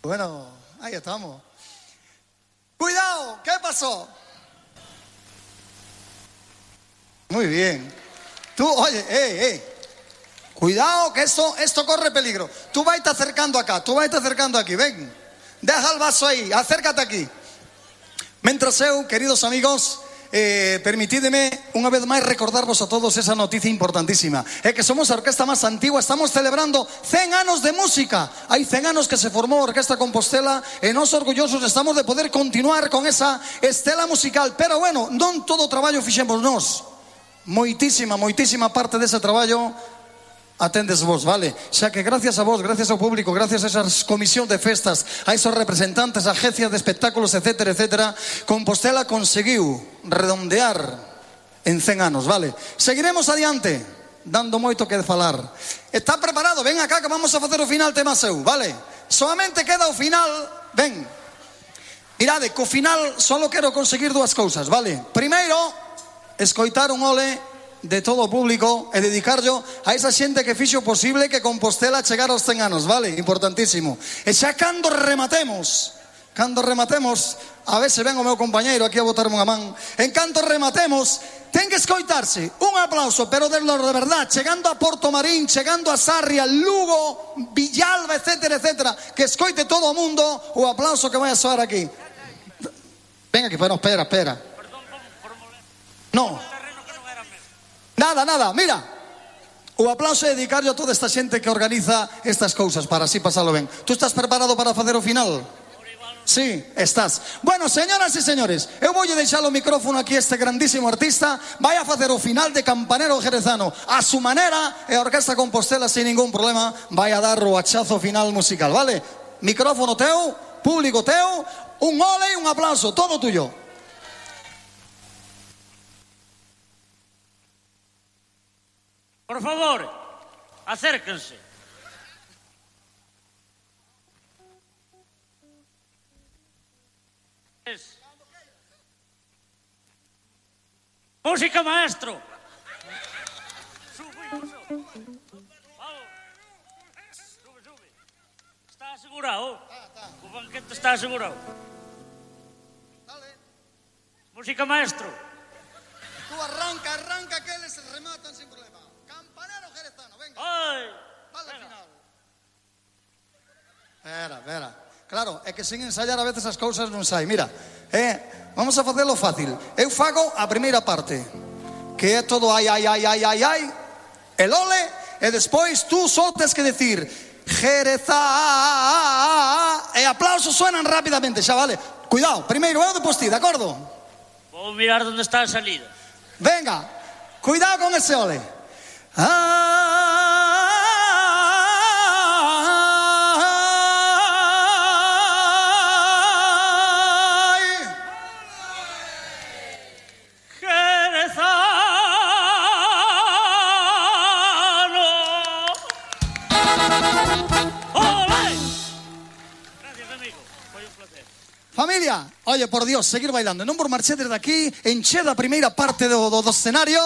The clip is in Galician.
Bueno, ahí estamos. Cuidado, ¿qué pasó? Muy bien. Tú, oye, cuidado que esto corre peligro. Tú vas a estar acercando acá, tú vas a estar acercando aquí, ven. Deja el vaso ahí, acércate aquí. Mientras queridos amigos, permitidme unha vez máis recordarvos a todos esa noticia importantísima. É que somos a orquesta máis antigua, estamos celebrando 100 anos de música. Hai 100 anos que se formou a Orquesta Compostela e nós orgullosos estamos de poder continuar con esa estela musical. Pero bueno, non todo o traballo fixemos nós. Moitísima parte dese traballo atendes vos, vale? Xa que gracias a vos, gracias ao público, gracias a esas comisión de festas, a esos representantes, a agencias de espectáculos, etcétera, etcétera, Compostela conseguiu redondear en 100 anos, vale? Seguiremos adiante, dando moito que falar. Está preparado? Ven acá que vamos a facer o final tema seu, vale? Solamente queda o final, ven. Mirade, co final solo quero conseguir dúas cousas, vale? Primeiro, escoitar un ole de todo o público e dedicarlo a esa xente que fixo posible que Compostela chegara aos 100 anos, vale? Importantísimo. E xa cando rematemos, a ver se ven o meu compañeiro aquí a botarme unha man, en canto rematemos, ten que escoitarse un aplauso, pero de verdad, chegando a Porto Marín, chegando a Sarria, Lugo, Villalba, etcétera, etcétera, que escoite todo o mundo o aplauso que vai a soar aquí. Ven aquí, pero espera. No. Nada, mira. O aplauso é dedicarlo a toda esta xente que organiza estas cousas para así pasalo ben. Tú estás preparado para facer o final? Sí, estás. Bueno, señoras e señores, eu voulle deixar o micrófono aquí a este grandísimo artista. Vai a facer o final de Campanero Jerezano a su manera e a Orquesta Compostela sin ningún problema vai a dar o hachazo final musical, vale? Micrófono teu, público teu, un ole e un aplauso, todo tuyo. Por favor, acérquense. Música, maestro. Sube. Vamos. Sube. Está asegurado. O banquete está asegurado. Música, maestro. Tú arranca que eles rematan sin problema. Campanero Jerezano, venga. Ai, vale al final. Espera. Claro, é que sin ensayar a veces as cousas non sai. Mira, vamos a facelo fácil. Eu fago a primeira parte, que é todo ai, el ole, e despois tú só tes que decir Jerezá, e aplausos suenan rapidamente, xa vale. Cuidado, primeiro eu, depois ti, de acordo? Vou mirar onde está a salida. Venga, cuidado con ese ole. Familia, oye, por Dios, seguir bailando. Non por marché desde aquí, enche da primeira parte do escenario.